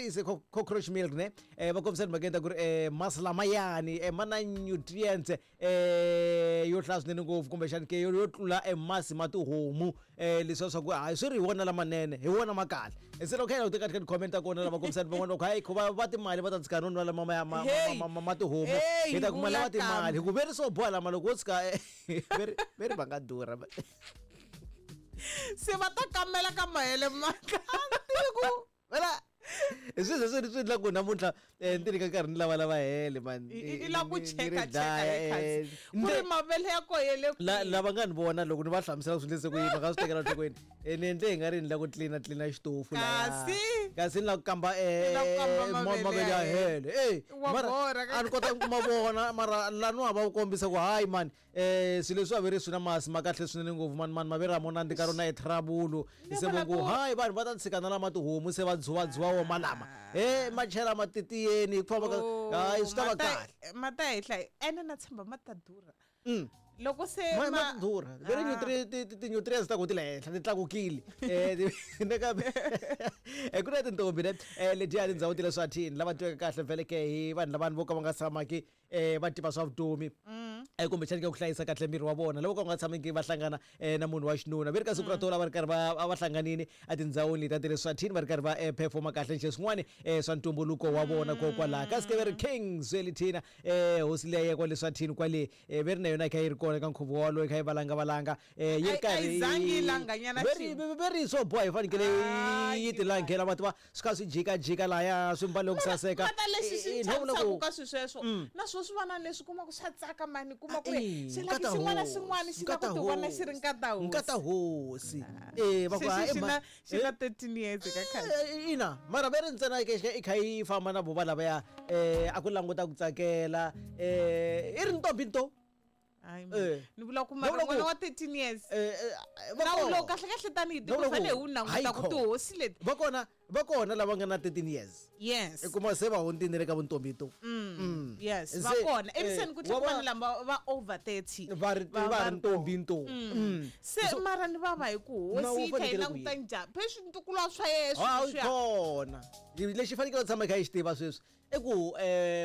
is cockroach milk ne. Va kombisa timhakeni ta ku ri masi lamayani ma na nutrients yo hlaya swinene ngopfu, kumbexani ke yo tlula masi ma tihomu. Leswiya swa ku hayi swi ri hi wona lamanene, hi wona ma kahle. Se loko kha hi languta ka ti-comment ta kona, lava kombisani van'wana va ku hayi khuva va timali va ta tshika no nwa lama ma tihomu, hi ta kuma lava timali hi ku veri swo boha lama loko wo tshika veri va nga durha. Se va ta kamela ka mahele maka tiku vela hi swilo leswi swi endla ku namuntlha ni ti nyika nkarhi ni lavalava hele man. I la ku cheka cheka hi ku ri mavele ya koho ya le lava nga ni vona loko ni va hlamusela swi endlise ku yini, va nga swi tekela enhlokweni. Ni endle hi nga ri ni la ku tlilina tlilina xitofu kasi kasi ni la ku kamba mavele ya hele. Mara a ni kota ku ma vona, mara laniwa va kombisa ku hayi mani, swilo leswi a ve ri swi na masi ma kahle swinene ngopfu mani, mani mavele a mo nandzika rona i trouble. Se va ku hayi vanhu va ta tshika na lama tihomu se va dzuwadzuwa wo malama ma chela matitiyeni hi ku famba ka hayi swi ta va kahle. Ma ta henhla ene na tshemba ma ta durha. Loko se ma durha veri ti-nutrients ta ku ti le henhla ti tlakukile. Nakambe ku na tintombi ne letiya tindhawu ti le Swathini lava tiveka kahle vhele ke hi vanhu lavani vo ka va nga tshamaki va tiva swa vutomi, kumbexani ka ku hlayisa kahle miri wa vona, loko ka nga tshamiki va hlangana na munhu wa xinuna. Ve ri ka siku ra tola va ri karhi va hlanganini etindhawini leti ta le Swathini, va ri karhi va performa kahle nje swin'wana swa ntumbuluko wa vona kokwalaho. Kasi ke ve ri King Zwelithina, hosi leyi ya kwale Swathini kwale, ve ri na yona yi kha yi ri kona ka nkhuvo walowo, yi kha yi valanga valanga, yi ri karhi ve ri swo boha yi fanekele yi ti langhela, va tiva swi kha swi jikajika laya swi mbale ku saseka. Mata lexi xi chavisaka ka swilo sweswo na swo swi vana leswi kuma ku swa tsaka mani, kuma ku ri xi lava xin'wana xin'wana xi lava ku ti vona xi ri nkata hosi. Nkata hosi va ku xi na 13 years ka khale. Ina mara ve ri ntsena i kha yi famba na vo va lavaya, a ku languta ku tsakela, i ri ntombi nto. Ni vula ku mara n'wana wa 13 years nawu lowu kahle kahle tanihi tiko fanele hi wu languta ku tihosi leti va kona lava nga na 13 years. Yes. I kuma se va hundzile ka vuntombi to. Yes, va kona. Eviseni ku tlhela vanhu lava va over 30. Va ri va ri ntombi nto. Se mara ni vava hi ku hosi yi kha yi languta njhani? Phela swintukulwa swa yena swi kona. Lexi fanekele u tshama i kha i xi tiva sweswi i ku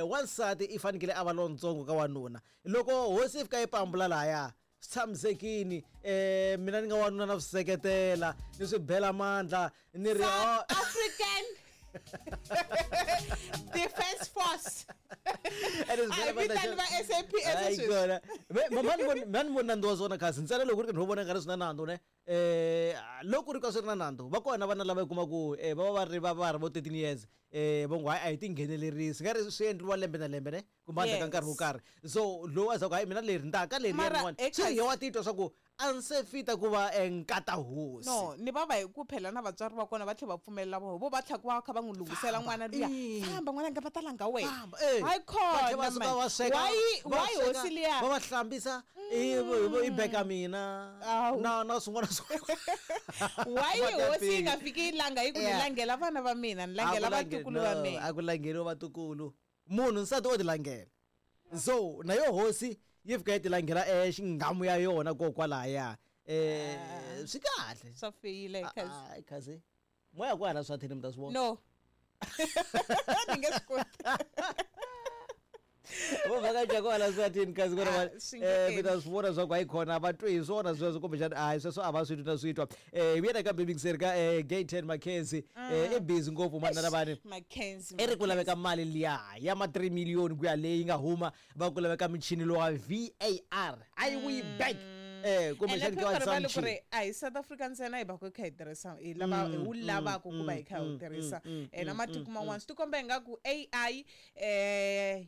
wansati i fanekele a va lontsongo ka wanuna. Loko hosi yi fika yi pambula lahaya swi tshamisekini, mina ni nga wanuna na swi seketela ni swi bela mandla ni ri South African Defense Force. A vitani va SAPS sweswi. Mani voni nandzu wa swona kasi ntsena loko ku ri ka ni vona nga ri swi na nandzu ne. Loko ku ri ka swi ri na nandzu, va kona vana lava i kuma ku va va va ri va va ri vo 13 years, va ngo hayi a hi tinghenelerisi nga ri swi endliwa lembe na lembe ne, kumbe endzhaku ka nkarhi wo karhi. So lowu a za ku hayi mina leri ni ta ka leri rin'wana swi ri wa titwa swa ku a ni se fita ku va nkata hosi. No ni vava hi ku phela na vatswari va kona va tlhela va pfumelela voho vo va tlhela va kha va n'wi lunghisela n'wana luya, famba n'wana nga va ta langa wena, hayi khona why hosi liya va va hlambisa i beka mina na swin'wana swin'wana. Why hosi yi nga fiki yi langa yi ku ni langela vana va mina, ni langela vatukulu va mina? A ku langeriwa vatukulu, munhu nsati o ti langela. So na yo hosi yi fika yi ti langela xingamu ya yona kokwalaya, swi kahle swa feyila kasi kasi moya ku hala swa thini mi ta swi vona. No ni nge swi koti. Vo vhakacha ku hala swa thini kasi ku ri mi ta swi vona swa ku hayi khona va twi hi swona sweswo, kumbexana hayi sweswo a va swi twi na swi twa. Hi vuya nakambe yingiseri ka Gayton McKenzie, i busy ngopfu manana vani. McKenzie i ri ku laveka mali liya ya ma 3 million ku ya leyi nga huma, va ku laveka michini lowa VAR a yi wuyi back, kumbexana ke wa ku ri a hi South Africa ntsena hi va ku kha hi tirhisa hi lava hi wu lavaka ku va hi kha hi wu tirhisa, na matiko man'wana swi tikomba ingaku AI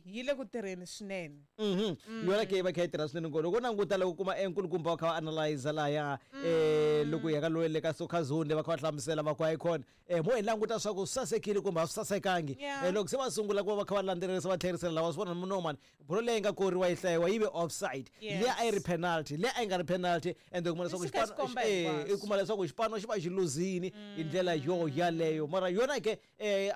yi le ku tirheni swinene. Yona ke va kha yi tirha swinene ngopfu. Loko languta loko kuma enkulukumba va kha va analyze laya, loko hi ya ka loyi le ka soccer zone le va kha va hlamusela va ku hayi khona, mo hi languta swa ku swi sasekile kumbe a swi sasekangi. Loko se va sungula ku va va kha va landzelerisa va tlherisela lawa swi vona no mani bolo leyi nga koriwa yi hlayiwa yi ve offside, liya a yi ri penalty, liya a yi nga ri penalty, and u kuma leswaku xipano i kuma leswaku xipano xi va xi luzini hi ndlela yo yaleyo. Mara yona ke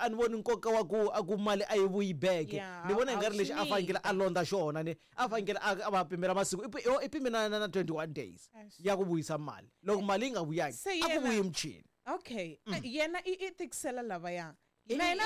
a ni voni nkoka wa ku a ku mali a yi vuyi back. Ni vona i nga ri lexi a fanekele a londza xona ni a fanekele a va pimela masiku i pime na 21 days ya ku vuyisa mali. Loko mali yi nga vuyangi a ku vuyi michini. Okay, yena i tikisela lavaya na yena.